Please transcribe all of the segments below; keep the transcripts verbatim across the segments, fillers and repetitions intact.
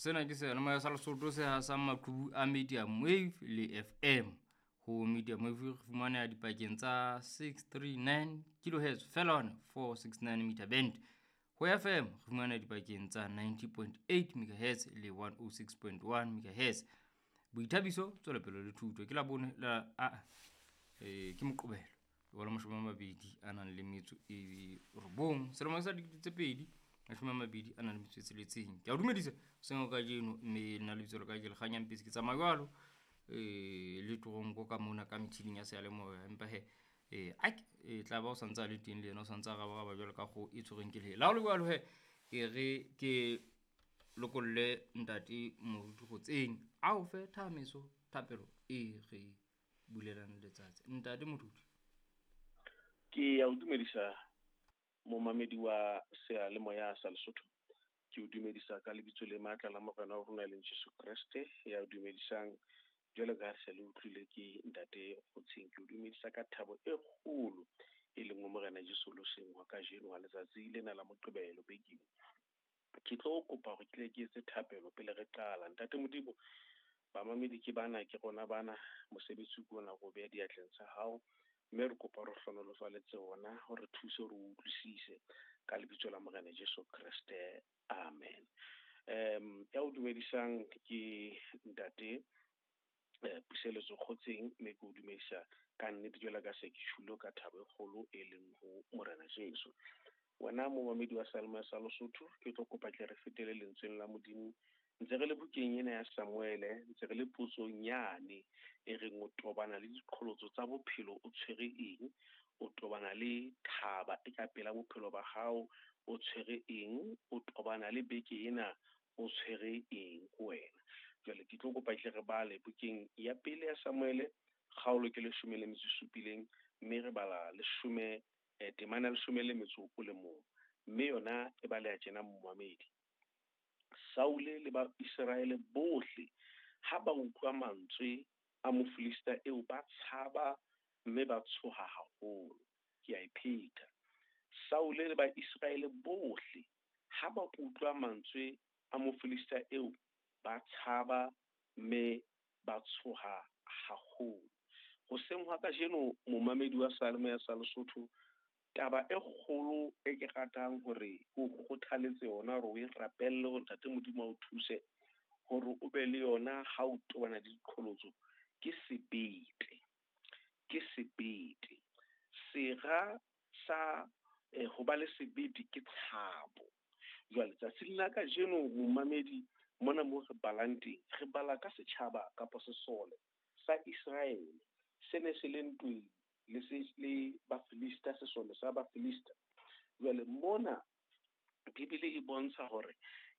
Sena ke seyalemoya sa Lesotho se hasang maqhubu a medium wave le F M. Ho medium wave re fumaneha dipakeng tsa six three nine kilohertz feela hona four six nine meter band. Ho F M re fumaneha dipakeng tsa ninety point eight megahertz le one oh six point one megahertz. Boithabiso, tswelopele le thuto ke Labone la a e ke Moqebelo wa la mashome a mabedi a nang le metso e robong selemo sa dikete tse pedi mashome a mabedi a nang le metso e tsheletseng. Ke a o dumedisa hoseng kajeno, mme nna lebitso la ka ke Lekganyang Pesi, ke tsamaya jwalo eh le toronko ka mona ka metjhining ya seyalemoya, empa he eh ake e tla ba o santse a le teng le yena o santse a rabaraba jwalo ka kgoho e tshwerweng ke lehe. Le ha ho le jwalo he, ke re ke lokolle ntate Moruti Kgotseng a o fe thahameso thapelo e re bulelang letsatsi. Ntate Moruti. Ke ya o dumedisa momamedi wa seyalemoya sa Lesotho. Ke o dumedisa ka lebitso le matla la Morena wa rona e leng Jesu Kreste, ya o dumedisang jwalo ka ha se le utlwile ke ntate Kgotseng. Ke o dumedisa ka thabo e kgolo e leng ho Morena Jesu loseng wa kajeno wa letsatsi lena la Moqebelo bekeng. Ke tlo kopa hore ke tle ke etse thapelo pele re qala. Ntate Modimo, bamamedi ke bana, ke rona bana, mosebetsi ke ona re o beha diatleng tsa hao, mme re kopa re hlohonolofaletse ona, o re thuse hore o utlwisise ka lebitso la Morena Jesu Kreste, amen. Um ya o dumedisang ke ntate eh, Puseletso Kgotseng, mme ke o dumedisa ka nnete jwalo ka se ke tjhulo ka thabo e kgolo e leng ho Morena Jesu. Wena momamedi wa seyalemoya sa Lesotho, ke tlo kopa tle re fetele lentsweng la Modimo. Ntse re le bukeng ena ya Samuele, ntse re le potsong yane e reng o tobana le diqholotso tsa bophelo o tshwere eng, o tobana le thaba e ka pela bophelo ba hao o tshwere eng, o tobana le beke ena o tshwere eng ho wena. Jwale ke tlo kopa tle re bale bukeng ya pele ya Samuele, kgaolo ke leshome le metso e supileng, mme re bala leshome eh, temana leshome le metso o le mong, mme yona e baleha tjena momamedi. Saule le ba Iseraele bohle ha ba utlwa mantswe a Mofilista eo ba tshaba mme ba tshoha haholo. Ke a e pheta. Saule le ba Iseraele bohle ha ba utlwa mantswe a Mofilista eo ba tshaba mme ba tshoha haholo. Hoseng hwa kajeno momamedi wa seyalemoya sa Lesotho, taba e kgolo e ke ratang hore ke o kgothaletse yona hore o e rapelle hore Ntate Modimo a o thuse hore o be le yona ha o tobana le diqholotso ke sebete. Ke sebete. Sera sa eh, ho ba le sebete ke tshabo. Jwale tsatsing la kajeno momamedi, mona moo re balang teng, re bala ka setjhaba kapa sesole sa Iseraele se ne se le ntweng le se le Bafilista, sesole sa Bafilista. Jwale mona Bibele e bontsha hore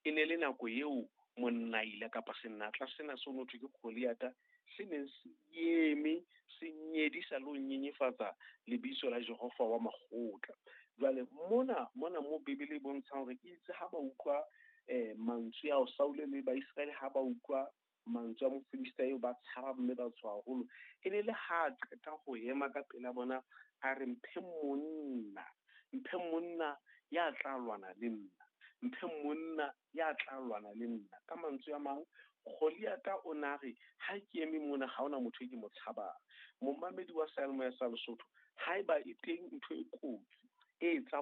e ne le nako eo monnaila kapa senatla sena se ho thwe ke Goliata se neng se eme se nyedisa le ho nyenyefatsa lebitso la Jehova wa makgotla. Jwale mona mona mo Bibele e bontshang hore itse ha ba utlwa eh mantswe ao Saule le Baiseraele ha ba utlwa mantswe a Mofilista eo ba tshaba mme ba tshoha haholo, e ne le ha qeta ho ema ka pela bona a re mphe monna, mphe monna ya tla lwana le nna, mphe monna ya tla lwana le nna. Ka mantswe a mang, Goliata o na re ha ke eme mona ha hona motho e ke mo tshabang. Momamedi wa seyalemoya sa Lesotho, haeba e teng ntho e kotsi e etsang